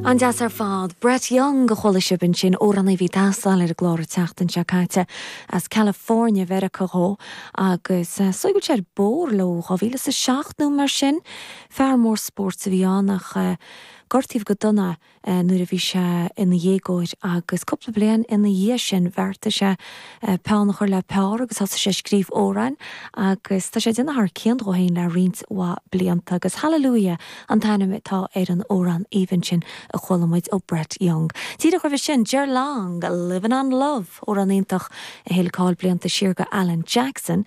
An-deas ar fad. Brett Young a chuala sibh ansin, amhránaí a bhí ag tástáil ar an gclár an tseachtain seo caite, as California Mheiriceá dhó, agus is dóigh go bhfuil sé ar bóthar le ó 2007 nó mar sin. Fear mór spóirt a bhí ann ach gortaíodh go dona é nuair a bhí sé ina dhéagóir agus cúpla bliain ina dhiaidh sin bheartaigh sé peann a chur le pár agus thosaigh sé ag scríobh amhráin agus tá sé ag déanamh thar cionn dhó féin le roinnt mhaith blianta agus Hallelujah an t-ainm atá ar an amhrán aoibhinn sin a chuala muid ó Brett Young. Díreach roimhe sin, Ger Long, Livin' on Love, amhrán iontach a thuill cáil blianta siar go Alan Jackson.